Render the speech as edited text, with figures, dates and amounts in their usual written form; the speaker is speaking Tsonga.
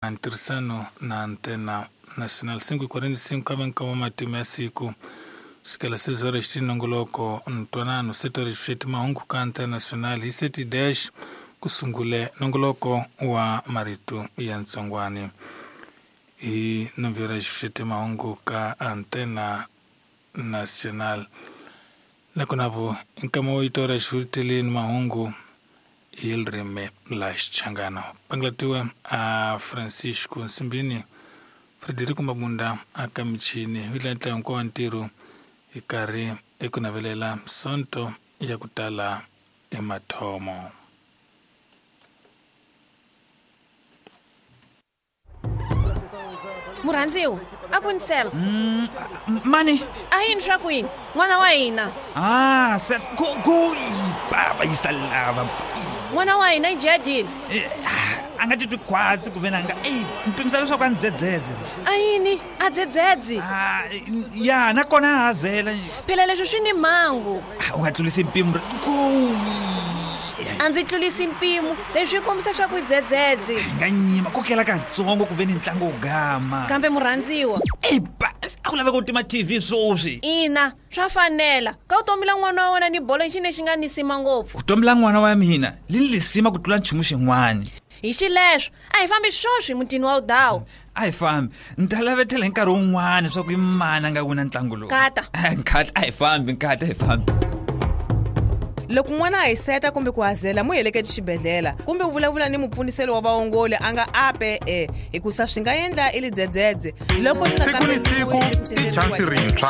Ntirhisano na Antena Nacional 5:45 ka venkama matimu ya siku sukela sezora xi nongoloko ntwanano setori xi mahungu ka Antena Nacional hi seti dash ku sungule nongoloko wa marito ya ntsongwani hi nomboro xi mahungu ka Antena Nacional nakona vo nkama wo itora xivutiteleni mahungu hi ririmi la Xichangana pangalatiwe a Francisco Nsimbini Frederico Mabunda a ka michini hi ntla hinkwawo wa ntirho hi karhi eku navelela sonto ya ku tala emathomo. Murhandziwa a ku ni self Mani a yini swa ku yini n'wana wa hina ah self go go baba yisa lava n'wana wa hina i jadini. A nga titwi khwatsi ku ve na nga ey mpimisa leswaku a ni dzedzedze. A yini a dzedzedzi? Ah, ya nakona a hazela. Phela leswi swi ni mhangu. U nga tlulisi mpimo go. A ndzi tlulisi mpimo leswi kombisa swa ku dzedzedzi. Hi nga nyima kokela katsongo ku ve ni ntlangu wo gama. Kambe murhandziwa ey ba a ku laveka u tima TV swoswi. Ina swa fanela ka vutomi la n'wana wa wena ni bolo i xi lexi nga nisima ngopfu. Vutomi la n'wana wa mina li ni lisima ku tlula nchumu xin'wana. Hi xileswo a hi fambi swoswi mutini wa udawu. A hi fambi ni ta lavetela hi nkarhi wun'wana swa ku i mani a nga wina ntlangu lowu. Nkata. Nkata a hi fambi nkata a hi fambi. Loko n'wana a hiseta kumbe ku hazela mu heleketi xibedhlele kumbe u vulavula ni mupfuniseli wa vaongoli a nga ape e hikusa swi nga endla i lidzedzedze loko Siku ni siku i chansi rintshwa.